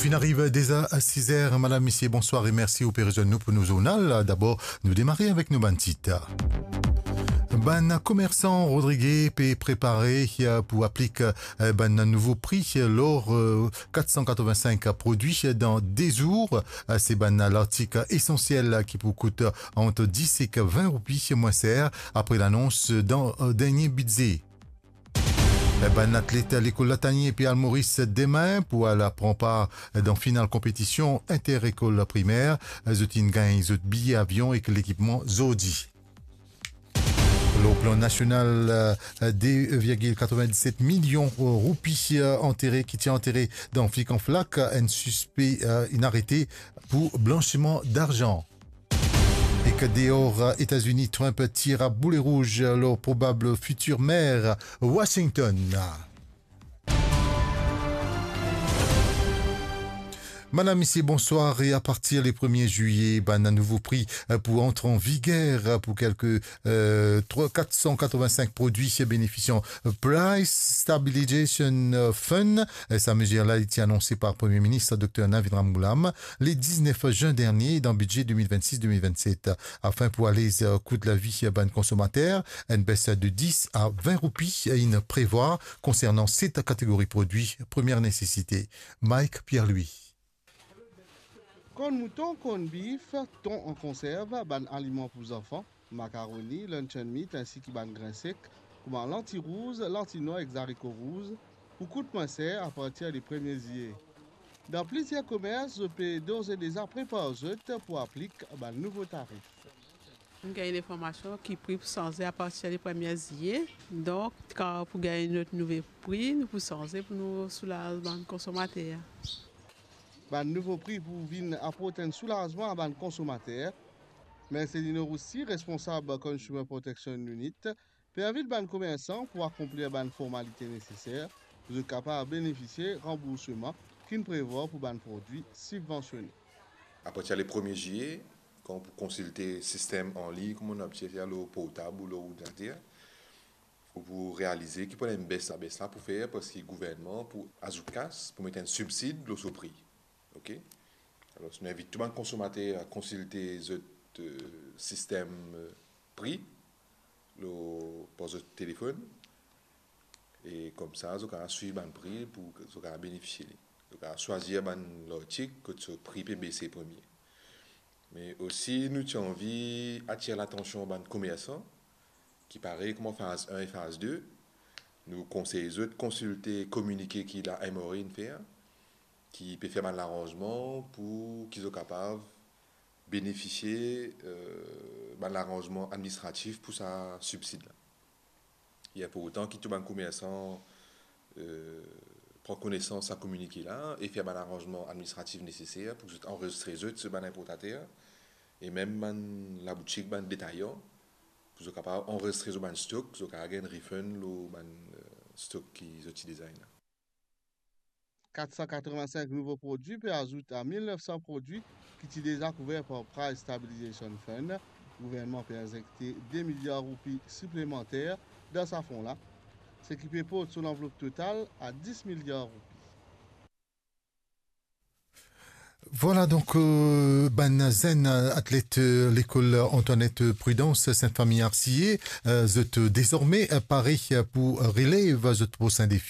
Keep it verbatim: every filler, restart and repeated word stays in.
Finn ariv deza siz er. Madam, misie, bonswar e mersi ou pe rezwenn nou pou nou zournal. Dabor, nou demare avek nou bann tit. Bann komersan Rodrige pe prepare, eh, pou aplik, eh, bann nouvo pri lor, eh, kat san katrovin-sink prodwi dan de zour. Eh, se bann lartik esansiel ki pou kout ant dis ek vin roupi mwin ser, apre lanons dan, eh, dernie bidze. Bann atlet lekol Latanie pe al Moris demin pou al pran par dan final konpetision inter-lekol primer. Zot inn gagn zot biye avion ek lekipman zordi. Lor plan nasional, de virgil katrovin-diset milion roupi antere, ki ti antere dan flikanflak, enn sispe inn arete pou blansiman darzan. Ek deor Etazini, Trump tir a boule rouz lor probab fitir mer Washington. Madam, misie, bonswar. E apartir le premie zilye, bann nouvo pri pou antre an viger pou kelke, eh, trwa, kat san katrovin-sink prodwi benefisian Price Stabilization Fund. Sa mezir la, li ti anonse par Premie Minis Dokter Navin Ramgoolam le diznef zin dernie dan bidze de mil vennsis de mil vennset. Afin pou alez kout lavi bann konsomater, enn bes de dis a vin roupi inn prevwar konsernan set kategori prodwi premie nesesite. Mike Pierre-Louis. Korn mouton, korn bif, ton an konserv, bann aliman pou zanfan, makaroni, luncheon meat, insi ki bann grin sek, kouma lanti rouz, lanti nwar ek zariko rouz, pou kout mwin ser apartir le premie zilye. Dan plizier komers, zot pe dores e deza prepar zot pou aplik bann nouvo tarif. Nou gagn linformasion ki pri pou sanze apartir le premie zilye. Donk, kan pou gagn nou nouvo pri, nou pou sanze pou nou soulaz bann konsomater. Bann nouvo pri pou vinn aport enn soulazman a bann konsomater. Mercelino Roussy, responsab Consumer Protection Unit, pe invit bann komersan pou akonplir bann formalite neseser pou zot kapav benefisie ranbourseman ki'nn prevwar pou bann prodwi sibvansione. Apartir le premie zilye, kan pou konsilte sistem anlign, kouma nou abitie fer lor portab ou lor ordinater, fo pou realize ki pou ena enn bes, sa bes la pou fer parski gouvernman pou azout kas, pou met enn sibsid lor so pri. Ok? Alor, nou invit tou bann konsomater a konsilte zot, eh, sistem, eh, pri lor, par zot telefonn. E koumsa, zot kapav swiv bann pri pou zot kapav benefisie li. Zot kapav swazir bann lartik kot so pri pe bese premie. Me osi, nou ti anvi atir latansion bann komersan ki parey kouma faz enn e faz de, nou konsey zot konsilte kominike ki la M R A inn fer, ki pe fer bann laranzman pou ki zot kapav benefisie, eh, bann laranzman administratif pou sa sibsid la. Li inportan ki tou bann komersan, eh, pran konesans sa kominike la e fer bann laranzman administratif neseser pou zot anrezistre zot, so bann inportater e mem bann laboutik, bann detayan, pou zot kapav anrezistre zot bann stok, zot kapav gagn refund lor bann, eh, stok ki zot ti deza ena. Kat san katrovin-sink nouvo prodwi pe azout a mil nef san prodwi ki ti deza kouver par Price Stabilization Fund. Gouvernman pe inzekte de miliar roupi siplemanter dan sa fon la, seki pe port so lanvlop total a dis miliar roupi. Vwala, donk, eh, bann zenn atlet, eh, lekol Antoinette Prudence, Sint Fami Arsiye, eh, zot dezorme, eh, pare, eh, pou relev zot prosin defi.